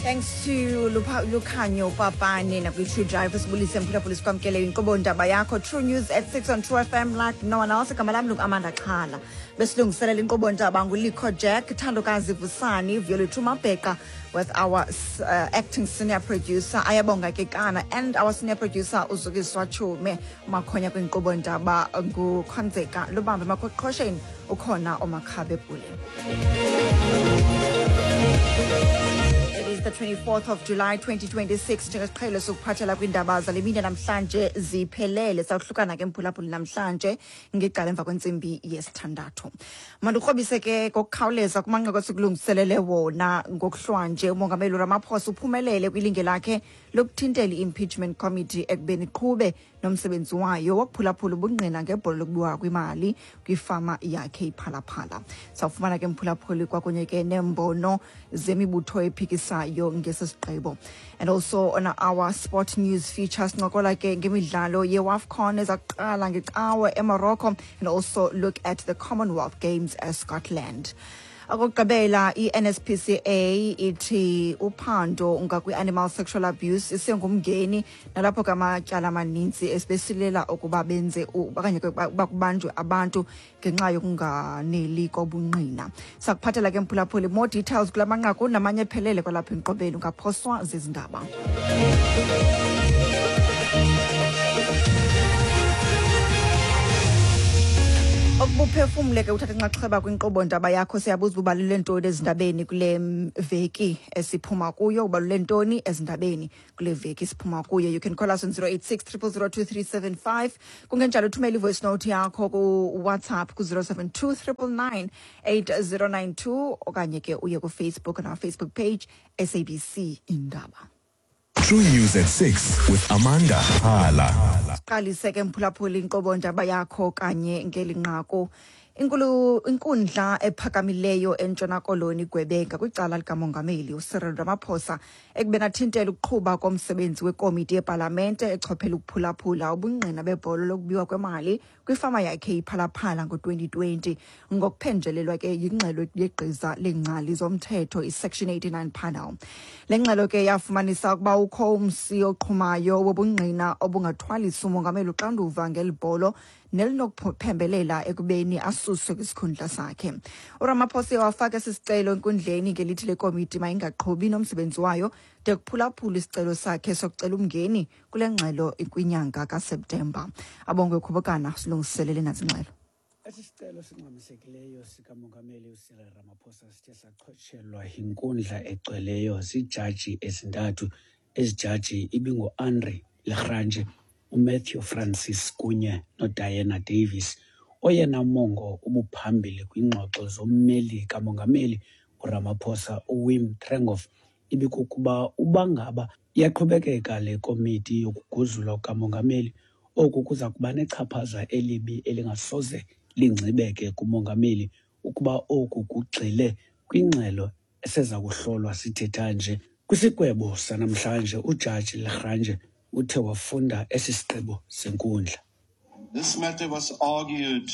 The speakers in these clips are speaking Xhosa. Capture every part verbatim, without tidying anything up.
Thanks to Lukhanyo Papane nakwi-True Drive. Sibulise, mphulaphuli, sikwamkele inkqubo ndaba yakho, True News at six on True F M like no one else. Igama lam lungu-Amanda Xhala. Besilungiselela inkqubo ndaba nguLikho Jack, Thandokazi Vusani, Violethu Mabheqa, with our uh, acting senior producer Ayabonga Kekana and our senior producer uZukiswa Chume. Makhonya kwinkqubo ndaba nguKhonzeka Lubambe. Makoqhosheni ukhona uMakhabe Pule. It is the twenty-fourth of July twenty twenty-six. Njengesiqhelo sokuphathela kwiindaba zale mini namhlanje ziphelele. Sawuhlukana ke, mphulaphuli, namhlanje ngecala emva kwentsimbi yesithandathu. Mandikrobise ke ngokukhawuleza kumanqaku esikulungiselele wona ngokuhlwanje. Umongameli Ramaphosa uphumelele kwilinge lakhe lokuthintela i-impeachment committee ekubeni iqhube nomsebenzi wayo wokuphulaphula ubungqina ngebholo lokubiwa kwimali kwifama yakhe iPhalaphala. Sawufumana ke, mphulaphuli, kwakunye ke neembono zemibutho ephikisayo ngesi sigqibo. And also on our sport news feature, sincokola ke ngemidlalo yeWAFCON eza kuqala ngeCawe eMorocco and also look at the Commonwealth Games eScotland. Okokugqibela, i-N S P C A ithi uphando ngakwi-animal sexual abuse isengumngeni, nalapho ke amatyala amaninzi esibesilela ukuba benze okanye ke uba kubanjwe abantu ngenxa yokunganeli kobungqina. Sakuphathela ke, mphulaphuli, more details kula manqaku namanye ephelele kwalapha enkqubeni. Ungaphoswa zezi ndaba. Ukubuphefumle ke uthatha inxaxheba kwinkqubo ndaba yakho, siyabuza uba ubalule ntoni ezindabeni kule veki esiphuma kuyo. Ubalule ntoni ezindabeni kule veki siphuma kuyo? You can call us on zero eight six zero zero zero two three seven five. Kungenjalo uthumele i-voice note yakho ku-WhatsApp ku-zero seven two nine nine nine eight zero nine two, okanye ke uye kuFacebook on our Facebook page, S A B C Indaba. True News at six with Amanda Hala. Siqalise ke, mphulaphuli, inkqubo ndaba yakho kanye ngeli nqaku. Inkulu inkundla ephakamileyo eNtshona Koloni igwebe ngakwicala likamongameli uCyril Ramaphosa ekubeni athintele ukuqhuba komsebenzi wekomiti yepalamente echophela ukuphulaphula ubungqina bebholo lokubiwa kwemali kwifama yakhe iPhalaphala ngo-twenty twenty, ngokuphenjelelwa ke yingxelo yegqiza leengcali zomthetho, i-Section eighty-nine panel. Le ngxelo ke yafumanisa ukuba ukho umsi oqhumayo wobungqina obungathwalisa umongameli uxanduva ngeli bholo nelinokuphembelela ekubeni asuswe kwisikhundla sakhe. URamaphosa wafaka esi sicelo enkundleni ngelithi le komiti mayingaqhubi nomsebenzi wayo de kuphulaphula isicelo sakhe sokucela umngeni kule ngxelo kwinyanga kaSeptemba. Abongwe Khubukana silungiselele nantsi ingxelo. Esi sicelo singxamisekileyo sikamongameli uCyril Ramaphosa sithe sachotshelwa yinkundla egcweleyo ziijaji ezintathu. Ezi jaji ibinguAndre la Grange, uMatthew Francis kunye noDiana Davis. Oyena mongo ubuphambili kwiingxoxo zommeli kamongameli uRamaphosa, uWim Trengove, ibikukuba uba ngaba iyaqhubekeka le komiti yokuguzulwa kukamongameli, oku kuza kuba nechaphaza elibi elingasoze lingcibeke kumongameli ukuba oku kugxile kwingxelo eseza kuhlolwa sithetha nje. Kwisigwebo sanamhlanje, uJaji la Grange uthe wafunda esi sigqibo senkundla. This matter was argued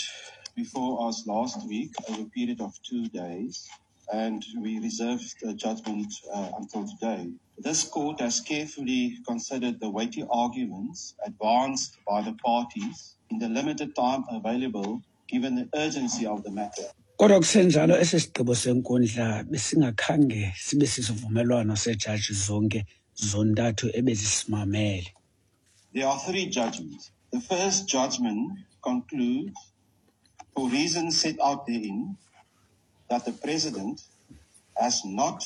before us last week over a period of two days, and we reserved the judgment uh, until today. This court has carefully considered the weighty arguments advanced by the parties in the limited time available, given the urgency of the matter. Kodwa kusenjalo, esi sigqibo senkundla besingakhange sibe sisivumelwano seejaji zonke zontathu ebezisimamele. There are three judgments. The first judgment concludes, for reasons set out therein, that the president has not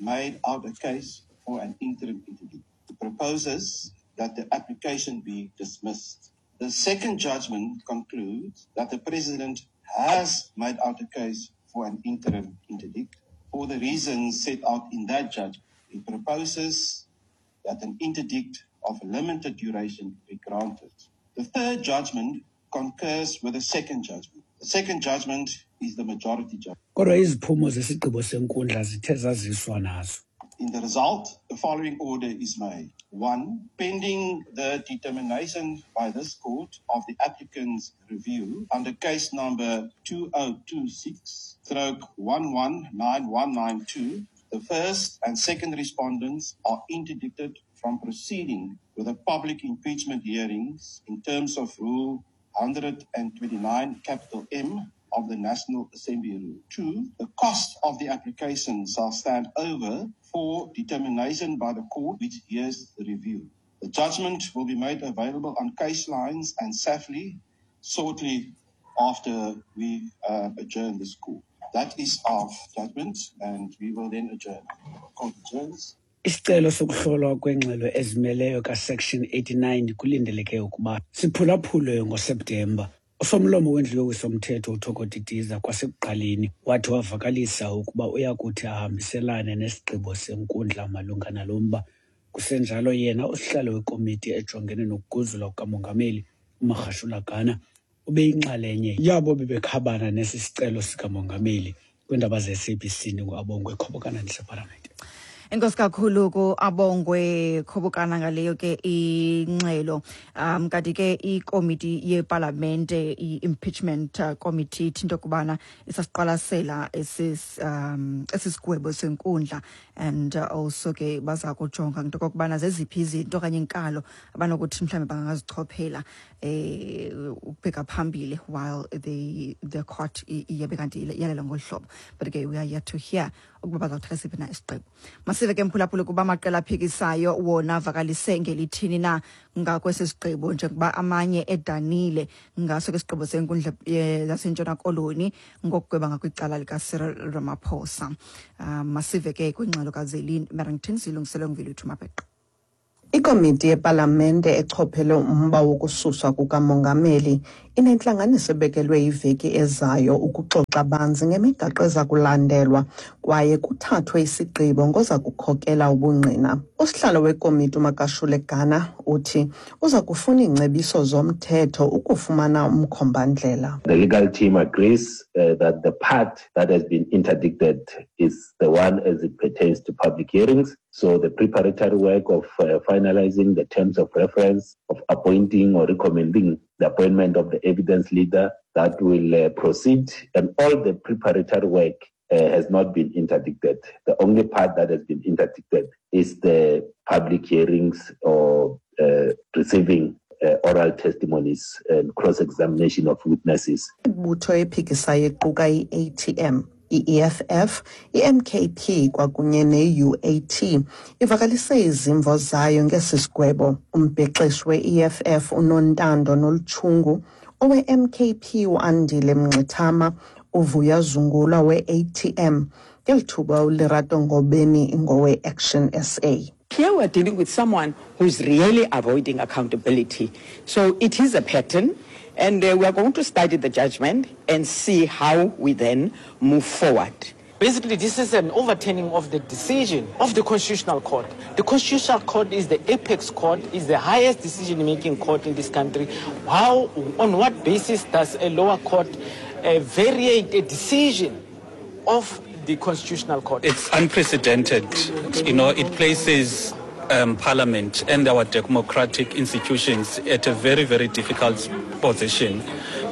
made out a case for an interim interdict. It proposes that the application be dismissed. The second judgment concludes that the president has made out a case for an interim interdict for the reasons set out in that judgment. It proposes that an interdict of limited duration be granted. The third judgment concurs with the second judgment. The second judgment is the majority judgment. Kodwa iziphumo zesigqibo senkundla zithe zaziswa nazo. In the result, the following order is made. One, pending the determination by this court of the applicant's review under case number two oh two six stroke one one nine one nine two, The first and second respondents are interdicted from proceeding with the public impeachment hearings in terms of Rule one twenty-nine capital M of the National Assembly Rule. Two, the cost of the application shall stand over for determination by the court which hears the review. The judgment will be made available on case lines and SAFLI shortly after we uh, adjourn this court. That is our judgment, and we will then adjourn. Court adjourns. Isicelo sokuhlolwa kwengxelo ezimeleyo kaSection eighty-nine kulindeleke ukuba siphulaphulwe ngoSeptemba. Usomlomo wendlu yowiso-mthetho uThoko Didiza kwasekuqaleni wathi wavakalisa ukuba uyakuthi ahambiselane nesigqibo senkundla malunga nalo mba. Kusenjalo yena usihlalo wekomiti ejongene nokuguzulwa kukamongameli uMagashula Gana ubeyinxalenye yabo bebekhabana nesi sicelo sikamongameli. Kwiindaba ze-S A B C ndinguAbongwe Khobokana ndisepalamente. Enkosi kakhulu ku Abongwe Khobokana ngaleyo ke ingxelo. Um kanti ke ikomiti yepalamente i-impeachment committee ithi into yokubana isasiqwalasela esis um esisigwebo senkundla and also ke baza kujonga into yokubana zeziphi izinto okanye inkalo abanokuthi mhlawumbe bangazichophela eh ukubheka phambili while the the court iyabe kanti iyalela ngolu hlobo. But ke we are yet to hear ukuba bazawuthatha siphi na isigqibo. Masive ke mphulaphula kuba amaqela aphikisayo wona avakalise ngelithini na ngakwesi sigqibo njengoba amanye edanile ngaso ke isigqibo senkundla yaseNtshona Koloni ngokugweba ngakwicala likaCyril Ramaphosa. Um, masive ke kwingxelo kaZelin Merrington silungiselwe nguViluthu Mabheqe. Ikomiti yepalamente echophele umba wokususwa kukamongameli inentlanganiso ebekelwe iveki ezayo ukuxoxa banzi ngemigaqo eza kulandelwa kwaye kuthathwe isigqibo ngoza kukhokela ubungqina. Usihlalo wekomiti uMagashule Gana uthi uza kufuna iingcebiso zomthetho ukufumana umkhombandlela. The legal team agrees uh, that the part that has been interdicted is the one as it pertains to public hearings. So the preparatory work of uh, finalizing the terms of reference, of appointing or recommending the appointment of the evidence leader, that will uh, proceed, and all the preparatory work uh, has not been interdicted. The only part that has been interdicted is the public hearings or uh, receiving uh, oral testimonies and cross-examination of witnesses. Ibutho ephikisayo equka i-A T M, i-E F F, i-M K P kwakunye ne-U A T ivakalise izimvo zayo ngesi sigwebo. Umbhexeshi we-E F F uNontando Nolutshungu, owe-M K P uAndile Mngxithama, uVuya Zungula we-A T M, ngeli thuba uLerato Ngobeni ngowe-Action S A. Here we're dealing with someone who's really avoiding accountability. So it is a pattern. And uh, we are going to study the judgment and see how we then move forward. Basically, this is an overturning of the decision of the Constitutional Court. The Constitutional Court is the apex court, is the highest decision-making court in this country. How, on what basis does a lower court uh, variate a decision of the Constitutional Court? It's unprecedented. You know, it places Um, Parliament and our democratic institutions at a very, very difficult position,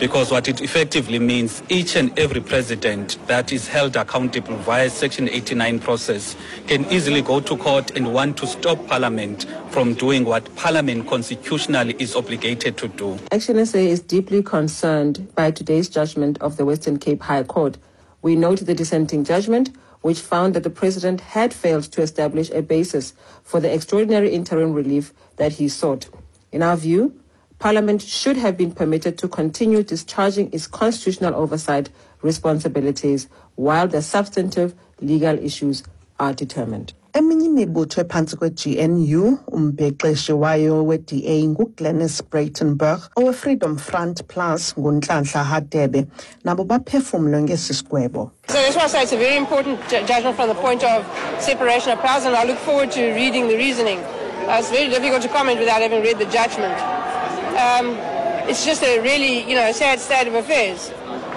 because what it effectively means, each and every president that is held accountable via Section eighty-nine process can easily go to court and want to stop Parliament from doing what Parliament constitutionally is obligated to do. Action S A is deeply concerned by today's judgment of the Western Cape High Court. We note the dissenting judgment, which found that the president had failed to establish a basis for the extraordinary interim relief that he sought. In our view, Parliament should have been permitted to continue discharging its constitutional oversight responsibilities while the substantive legal issues are determined. Eminye imibutho ephantsi kwe-G N U, umbhexeshi wayo we-D A nguGlenys Breitenberg, owe-Freedom Front Plus nguNhlanhla Hadebe, nabo baphefumle ngesi sigwebo. So that's why I say it's a very important ju- judgment from the point of separation of powers, and I look forward to reading the reasoning. Uh, it's very difficult to comment without having read the judgment. Um, it's just a really, you know, sad state of affairs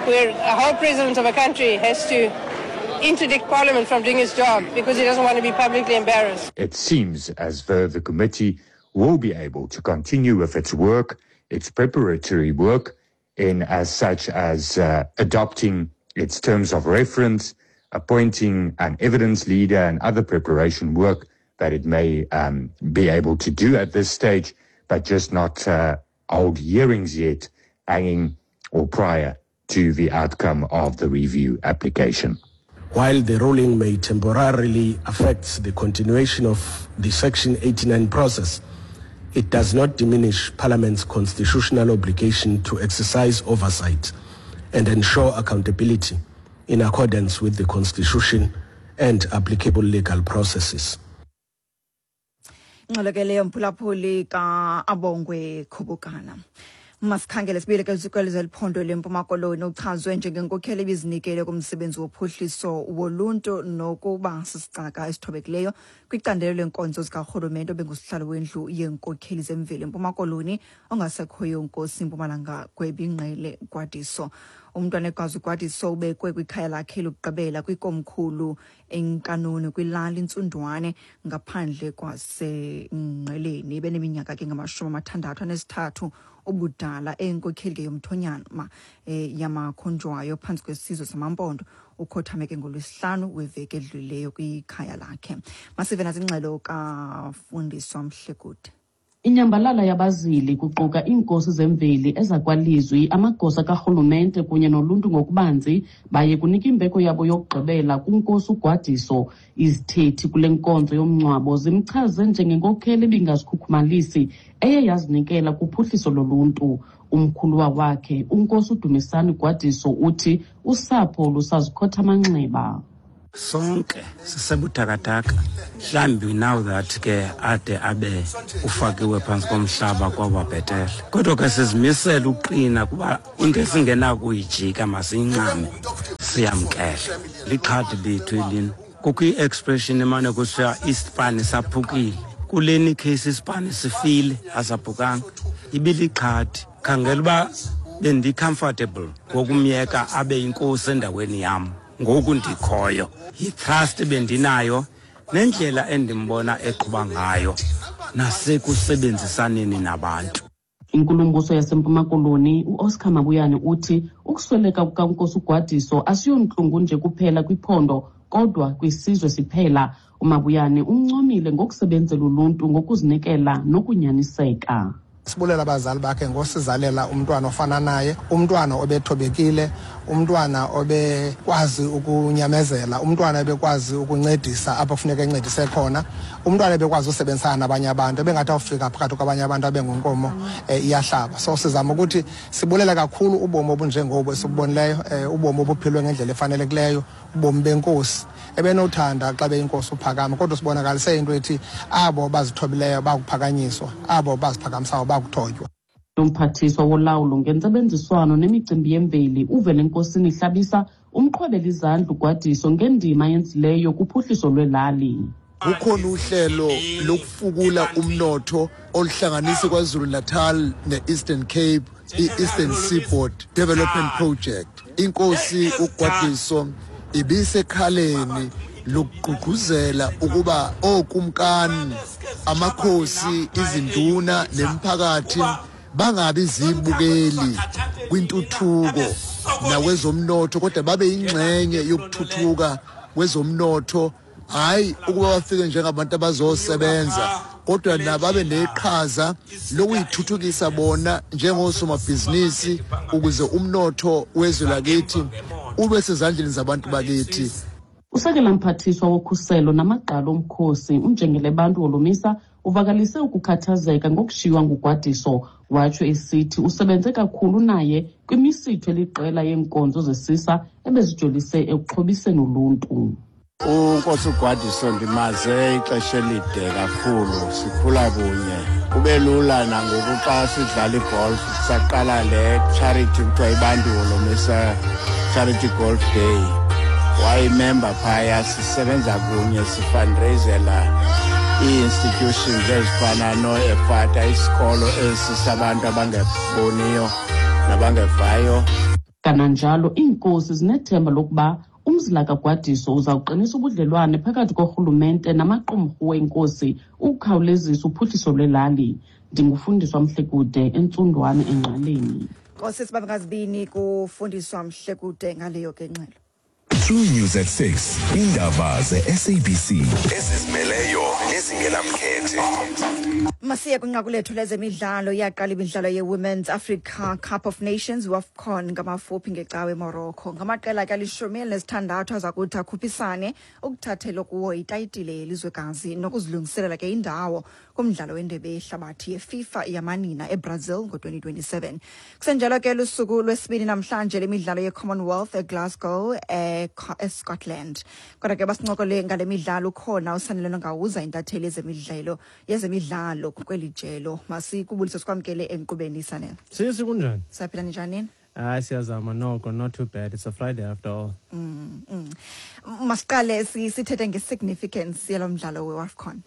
where a whole president of a country has to interdict Parliament from doing its job because he doesn't want to be publicly embarrassed. It seems as though the committee will be able to continue with its work, its preparatory work, in as such as uh, adopting its terms of reference, appointing an evidence leader and other preparation work that it may um, be able to do at this stage, but just not uh, hold hearings yet hanging or prior to the outcome of the review application. While the ruling may temporarily affect the continuation of the Section eighty-nine process, it does not diminish Parliament's constitutional obligation to exercise oversight and ensure accountability in accordance with the Constitution and applicable legal processes. Ingxelo ke leyo mphulaphuli ka-Abongwe Khubukana. Masikhangele sibuyele kwezikolo liphondo leMpuma Koloni. Uchazwe njengenkokheli ebizinikele kumsebenzi wophuhliso woluntu nokuba sisicaka esithobekileyo kwicandelo leenkonzo zikarhulumente obengusihlalo wendlu yeenkokheli zemveli eMpuma Koloni ongasekhoyo uNkosi Mpumalanga Gwebingqele Gwadiso. Umntwana ekwazi uGwadiso ubekwe kwikhaya lakhe lokugqibela kwikomkhulu eNkanuni kwilali Ntsundwane ngaphandle kwaseNgqeleni. Beneminyaka ke ngamashumi amathandathu anesithathu ubudala, enkokheli ke yomthonyama eh, yamakhonjwayo phantsi kwesizwe samaMpondo. Ukhothame ke ngolwesihlanu weveki edlulileyo kwikhaya lakhe. Masive nazingxelo kaFundiswa Mhlekude. Inyambalala yabazili kuquka iinkosi zemveli ezakwalizwi, amagosa karhulumente kunye noluntu ngokubanzi baye kunika imbeko yabo yokugqibela kuNkosi uGwadiso. Izithethi kule nkonzo yomngcwabo zimchaze njengenkokheli ebingazikhukhumalisi eye yazinikela kuphuhliso loluntu. Umkhuluwa wakhe uNkosi uDumisani Gwadiso uthi usapho lusazikhotha amanxeba. Sonke sisebuthakathaka, mhlawumbi now that ke ade abe ufakiwe phantsi komhlaba kwaba bhetele, kodwa ke sizimisele uqina kuba into esingenakuyijika masiyincame siyamkele. Lixhadi lethu elina. Kukho i-expression emane kusithiwa isipani saphukile, kuleni case isipani sifile asaphukanga, ibilixhadi. Khangela uba bendi-comfortable ngokumyeka abe yinkosi endaweni yam ngoku ndikhoyo. Yi-trust bendinayo nendlela endimbona eqhuba ngayo nasekusebenzisaneni nabantu. Inkulumbuso yaseMpuma Koloni uOscar Mabuyane uthi ukusweleka kukaNkosi uGwadiso asiyontlungu nje kuphela kwiphondo kodwa kwisizwe siphela. UMabuyane uncomile ngokusebenzela uluntu ngokuzinikela nokunyaniseka. Sibulela abazali bakhe ngosizalela umntwana ofana naye, umntwana obethobekile, umntwana obekwazi ukunyamezela, umntwana obekwazi ukuncedisa apho kufuneka encedise khona, umntwana ebekwazi usebenzisana nabanye abantu, ebengathi awufika phakathi kwabanye abantu abengunkomo iyahlaba. So sizama ukuthi sibulela kakhulu ubomi obunjengobo esibubonileyo, ubomi obuphilwe ngendlela efanelekileyo, ubomi benkosi ebenothanda xa beyinkosi uphakama, kodwa sibonakalise into ethi abo bazithobileyo bakuphakanyiswa, abo baziphakamisayo bakuthotywa. Umphathiswa wolawulo ngentsebenziswano nemicimbi yemveli uVelenkosini Hlabisa umqhwebela izandla uGwadiso ngendima yenzileyo kuphuhliso lwelali. Kukhona uhlelo lokufukula umnotho oluhlanganisa KwaZulu Natal ne-Eastern Cape, i-Eastern Seaboard Development Project. Inkosi uGwadiso ibisekhaleni lokugqugquzela ukuba okumkani, amakhosi, izinduna nemphakathi bangabi zibukeli kwintuthuko nakwezomnotho, kodwa babe ingxenye yokuthuthuka kwezomnotho. Hayi ukuba bafike njengabantu abazosebenza, kodwa nababe neqhaza lokuyithuthukisa bona njengosomabhizinisi ukuze umnotho wezwe lakithi ube sezandleni zabantu bakithi. Usekela mphathiswa wokhuselo namagqalo omkhosi uNjengele Bantu Holomisa uvakalise ukukhathazeka ngokushiywa nguGwadiso, watsho esithi usebenze kakhulu naye kwimisitho eliqela yeenkonzo zesisa ebezijolise ekuxhobiseni uluntu. UNkosi uGwadiso ndimaze ixesha elide kakhulu, sikhula kunye. Kube lula nangoku xa sidlala igolf, saqala le charity kuthiwa iBantu Holomisa Charity Golf Day. Wayimember phaya, sisebenza kunye, sifundraisela ii-institutions ezifana noEFATA, isikolo esi sabantu abangeboniyo nabangevayo. Kananjalo iinkosi zinethemba lokuba umzila kaGwadiso uzawuqinisa ubudlelwane phakathi korhulumente namaqumrhu weenkosi ukukhawulezisa uphuhliso lwelali. Ndingufundiswa Mhlekude eNtsundwane eNgqeleni. Nkosi sibabekazibini kufundiswa Mhlekude ngaleyo ke ngxelo. True News at six. Indaba ze-S A B C. Ezizimeleyo nezingenamkhethe. Masiye kwinqaku lethu lezemidlalo. Iyaqala imidlalo ye-Women's Africa Cup of Nations, WAFCON, ngamafuphi ngecawe eMorocco. Ngamaqela ke alishumi elinesithandathu aza kuthi akhuphisane ukuthathela kuwo itayitile yelizwekazi nokuzilungiselela ke indawo kumdlalo wendebe yehlabathi yeFIFA yamanina eBrazil ngo-twenty twenty-seven. Kusenjalo ke lusuku lwesibini namhlanje lemidlalo ye-Commonwealth eGlasgow eScotland. Kodwa ke basincokole ngale midlalo ukhona uSanele Nongawuza, intatheli yezemidlalo yezemidlalo kweli jelo. Masikubulise sikwamkele enkqubeni, Sanele. Sisi, kunjani? Siyaphila, ninjani? Hayi, siyazama noko, not too bad. It's a Friday after all. Mm, mm. Masiqale sithethe nge-significance yalo mdlalo we-WAFCON.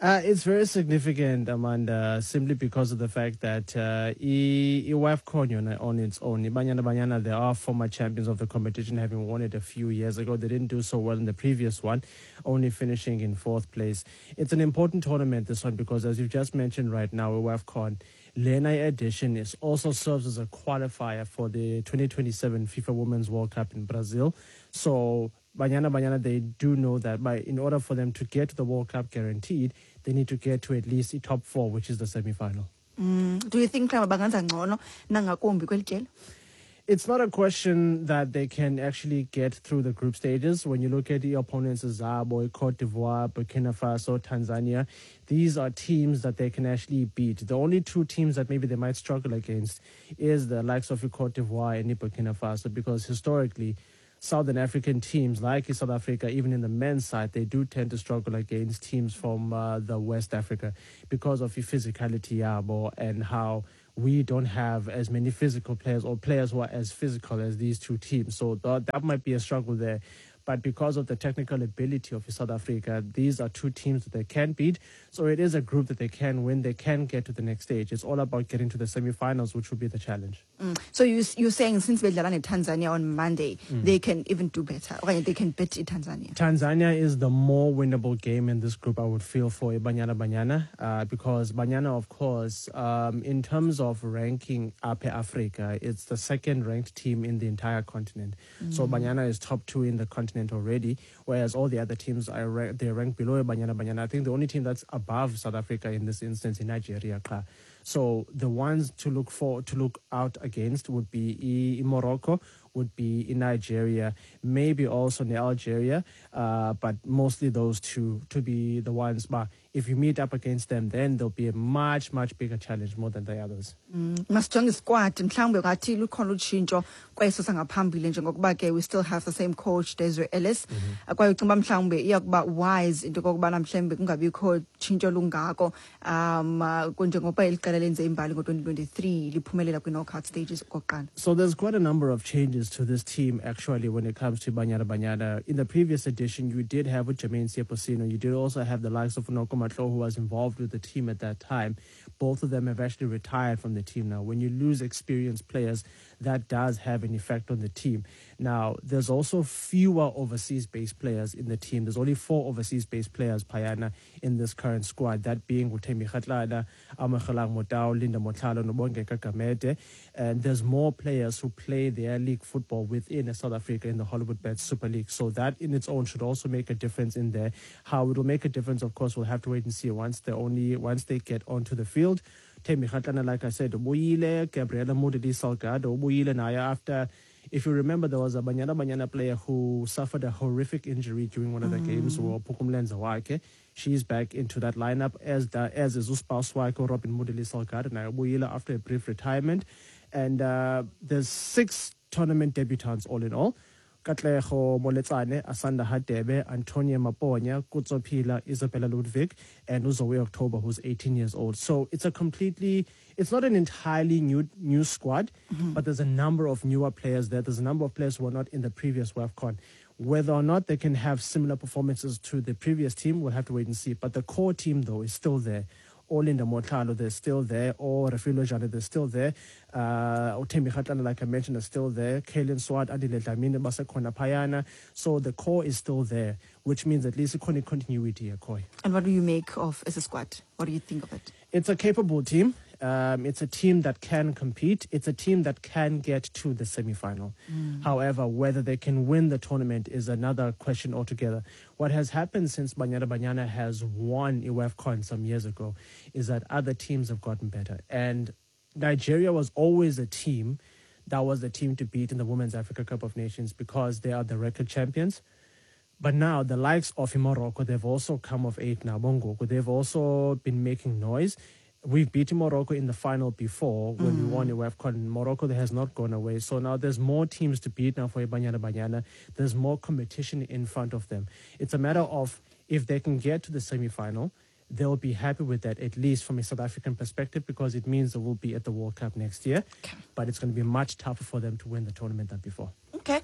Uh, it's very significant, Amanda, simply because of the fact that uh, I-WAFCON on its own, Banyana Banyana, they are former champions of the competition, having won it a few years ago. They didn't do so well in the previous one, only finishing in fourth place. It's an important tournament, this one, because as you've just mentioned right now, WAFCON, Lena edition is also serves as a qualifier for the twenty twenty-seven FIFA Women's World Cup in Brazil. So Banyana Banyana, they do know that by in order for them to get to the World Cup guaranteed, they need to get to at least the top four, which is the semi-final. Mm, do you think bangenza ngcono nangakumbi kweli jelo? It's not a question that they can actually get through the group stages. When you look at the opponents, Zimbabwe, Cote d'Ivoire, Burkina Faso, Tanzania, these are teams that they can actually beat. The only two teams that maybe they might struggle against is the likes of Cote d'Ivoire and Burkina Faso, because historically, Southern African teams like South Africa, even in the men's side, they do tend to struggle against teams from uh, the West Africa because of the physicality yabo and how we don't have as many physical players or players who are as physical as these two teams. So th- that might be a struggle there. But because of the technical ability of South Africa, these are two teams that they can beat. So it is a group that they can win. They can get to the next stage. It's all about getting to the semi-finals, which will be the challenge. Mm. So you, you're saying since bedlala neTanzania on Monday, mm. they can even do better. Okay, they can beat Tanzania. Tanzania is the more winnable game in this group, I would feel, for Banyana Banyana. Uh, because Banyana, of course, um, in terms of ranking up Africa, it's the second-ranked team in the entire continent. Mm. So Banyana is top two in the continent already, whereas all the other teams are ra- they rank below Banyana Banyana. I think the only team that's above South Africa in this instance is Nigeria. So the ones to look for, to look out against would be in Morocco, would be in Nigeria, maybe also in Algeria, uh, but mostly those two to be the ones. But if you meet up against them, then there'll be a much, much bigger challenge more than the others. Mm. Masijonge squad, mhlawumbe ungathi lukhona utshintsho kweso sangaphambili njengokuba ke we still have the same coach, Desiree Ellis. Mm-hmm. Kwaye ucinga mhlawumbe iyakuba wise into kokubana mhlawumbe kungabikho tshintsho lungako, um njengokuba eli qela lenze imbali ngo-twenty twenty-three liphumelela kwi-knockout stages okokuqala. So there's quite a number of changes to this team actually when it comes to Banyana Banyana. In the previous edition, you did have Jermaine Seoposenwe. You did also have the likes of Noko Matlou, who was involved with the team at that time. Both of them have actually retired from the team now. When you lose experienced players, that does have an effect on the team. Now, there's also fewer overseas-based players in the team. There's only four overseas-based players, Payana, in this current squad, that being Thembi Kgatlana, Amogelang Motau, Linda Motlhalo, Nobongeka Gamede. And there's more players who play their league football within South Africa in the Hollywoodbets Super League. So that in its own should also make a difference in there. How it will make a difference, of course, we'll have to wait and see once they only once they get onto the field. Thembi Kgatlana, like I said, ubuyile, Gabriela Moodley Salgado, ubuyile naye after, if you remember, there was a Banyana Banyana player who suffered a horrific injury during one of the mm. games, Pukumlenza wakhe. She's back into that lineup, as the, as is uspouse wakhe, Robin Moodley Salgado, naye ubuyile after a brief retirement. And uh, there's six tournament debutants all in all. Katlego Moletsane, Asanda Hadebe, Antonia Maponya, Kutso Pila, Isabella Ludwig, and Uzoe October, who's eighteen years old. So it's a completely, it's not an entirely new new squad, mm-hmm. but there's a number of newer players there. There's a number of players who were not in the previous WAFCON. Whether or not they can have similar performances to the previous team, we'll have to wait and see. But the core team, though, is still there. Or Linda Motlhalo, they're still there. Or Refiloe Jane, they're still there. Uh, Thembi Kgatlana, like I mentioned, is still there. Kaylin Swart, Andile Dlamini, basekhona phayana. So the core is still there, which means at least ikhona continuity here, Koi. And what do you make of as a squad? What do you think of it? It's a capable team. Um, it's a team that can compete. It's a team that can get to the semi-final. Mm. However, whether they can win the tournament is another question altogether. What has happened since Banyana Banyana has won AFCON some years ago is that other teams have gotten better. And Nigeria was always a team that was the team to beat in the Women's Africa Cup of Nations because they are the record champions. But now the likes of Morocco, they've also come of age now. Bongo, they've also been making noise. We've beaten Morocco in the final before when mm. we won the AFCON. Morocco has not gone away. So now there's more teams to beat now for Banyana Banyana. There's more competition in front of them. It's a matter of if they can get to the semi-final, they'll be happy with that, at least from a South African perspective, because it means they will be at the World Cup next year. Okay. But it's going to be much tougher for them to win the tournament than before. Okay.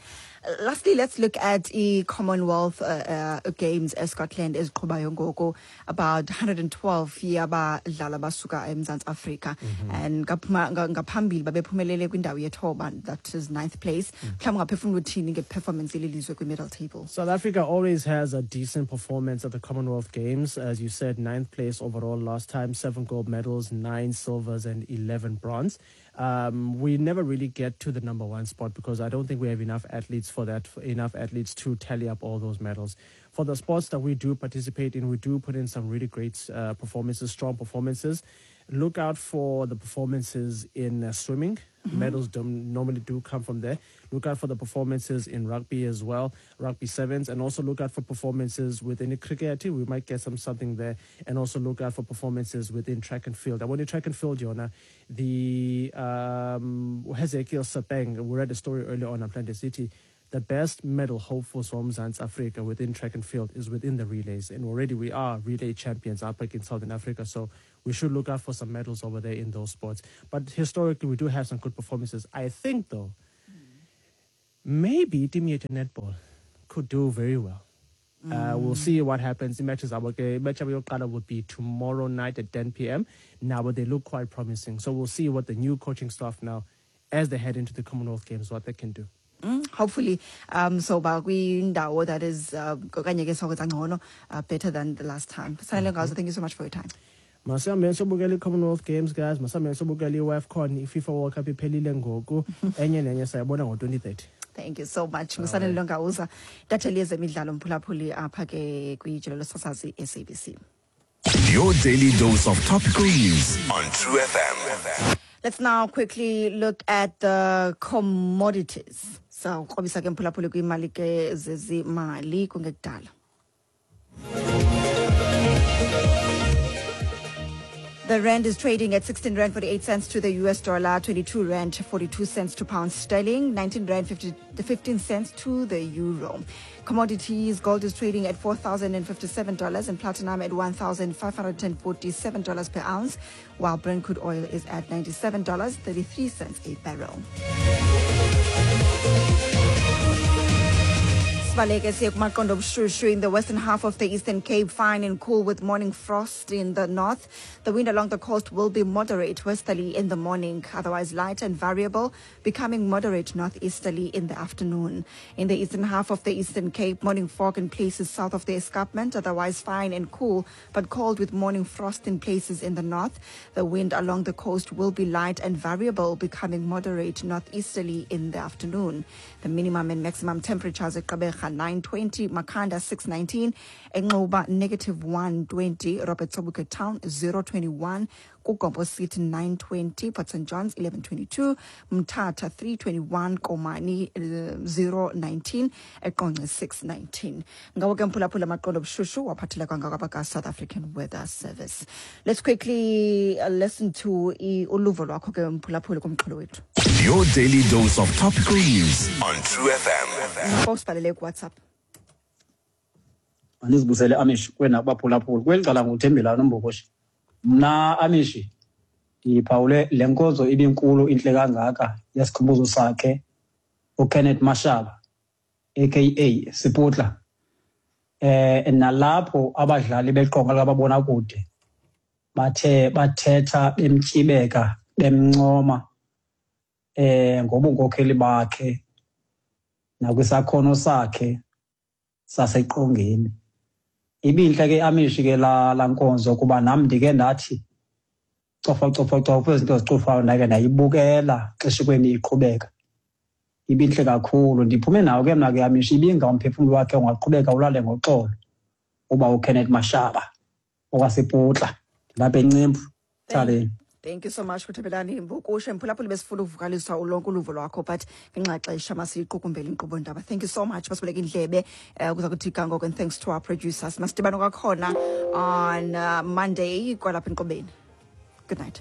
Lastly, let's look at the Commonwealth uh, uh, Games eScotland eziqhubayo ngoku, about one hundred twelve yabadlali abasuka eMzantsi Afrika mm -hmm. and ngaphambili babephumelele kwindawo yethoba, that is ninth place. Mhlawumbi ungaphefumula uthini ngeperformance yelizwe kwi-medal table? South Africa always has a decent performance at the Commonwealth Games. As you said, ninth place overall last time, seven gold medals, nine silvers and eleven bronze. Um, we never really get to the number one spot because I don't think we have enough athletes for that, enough athletes to tally up all those medals. For the sports that we do participate in, we do put in some really great uh, performances, strong performances. Look out for the performances in uh, swimming. Mm-hmm. Medals don't normally do come from there. Look out for the performances in rugby as well, rugby sevens, and also look out for performances within cricket. We might get some something there, and also look out for performances within track and field. I want to track and field, Yona. The um, Hezekiel Sepeng, we read a story earlier on Planet City. The best medal hopefuls from Mzansi Africa within track and field is within the relays. And already we are relay champions up in Southern Africa. So we should look out for some medals over there in those sports. But historically, we do have some good performances. I think, though, maybe team netball could do very well. Mm. Uh, we'll see what happens. The matches match will be tomorrow night at ten p m. Now, but they look quite promising. So we'll see what the new coaching staff now, as they head into the Commonwealth Games, what they can do. Mm, hopefully um so ba kwindawo that is uh, okanye ke sokwenza ngcono, uh, better than the last time. Sanele Ngauza, thank you so much for your time. Masihambe sobukela i-Commonwealth Games, guys. Masihambe sobukela i-WAFCON. I-FIFA World Cup iphelile ngoku. Enye nenye sayibona ngo-twenty thirty. Thank you so much, nguSanele Nongauza, intatheli yezemidlalo, mphulaphuli, apha ke kwijelo losasazi S A B C. Your daily dose of topical news on True F M. Let's now quickly look at the commodities. So, krobisa ke mphulaphuli kwimali ke zezimali kungekudala. The rand is trading at sixteen rand forty-eight cents to the U S dollar, twenty-two rand forty-two cents to pound sterling, nineteen rand fifty, fifteen cents to the euro. Commodities, gold is trading at four thousand fifty-seven dollars and platinum at one thousand five hundred forty-seven dollars per ounce, while Brent crude oil is at ninety-seven dollars and thirty-three cents a barrel. Sibaleke siye kumaqondo obushushu in the western half of the Eastern Cape, fine and cool with morning frost in the north. The wind along the coast will be moderate westerly in the morning, otherwise light and variable, becoming moderate northeasterly in the afternoon. In the eastern half of the Eastern Cape, morning fog in places south of the escarpment, otherwise fine and cool, but cold with morning frost in places in the north. The wind along the coast will be light and variable, becoming moderate northeasterly in the afternoon. The minimum and maximum temperatures at Gqeberha nine twenty, Makhanda six nineteen, Enqoba negative one twenty, Robert Sobukwe Town zero twenty-one, KuGompo City nine twenty, Port Saint John's eleven twenty-two, Mthatha three twenty-one, Komani uh, zero nineteen, eQonce six nineteen. Ngawo ke mphulaphula amaqondo obushushu waphathela kwangakabaka South African Weather Service. Let's quickly uh, listen to i- uluvo lwakho ke mphulaphuli kumxholo wethu. Your daily dose of topical news on True F M. Usibhalele kuWhatsApp. Mandizibusele Amish kwena kubaphulaphuli kweli cala nguThembelani uMbokoshi. Mna Amishi ndiphawule le nkonzo ibinkulu intle kangaka yesikhumbuzo sakhe uKenneth Mashaba A K A Siputla, eh nalapho abadlali beqonga likababonakude bathe bathetha bemtyibeka bemncoma eh ngobunkokheli bakhe nakwisakhono sakhe saseqongeni. Ibinhle ke Amishi ke la la nkonzo kuba nam ndike ndathi Cofa cofa cofa izinto zicofayo, ndake ndayibukela xeshikweni iqhubeka. Ibintle kakhulu. Ndiphume nawo ke mna ke Amish, ibinga umphefumlo wakhe ungaqhubeka ulale ngoxolo. Uba uKenneth Mashaba owasePutla lapha eNcembu Thaleni. Thank you so much, Kuthebelani Mbukushe. Mphulaphuli, besifuna ukuvakalisa ulonke uluvo lwakho, but ngenxa xesha masiyiqukumbele inkqubo ndaba. Thank you so much, masibuleke indlebe uh, kuza kuthi ngoko, and thanks to our producers. Masidibane kwakhona on uh, Monday kwalapha enkqubeni. Good night.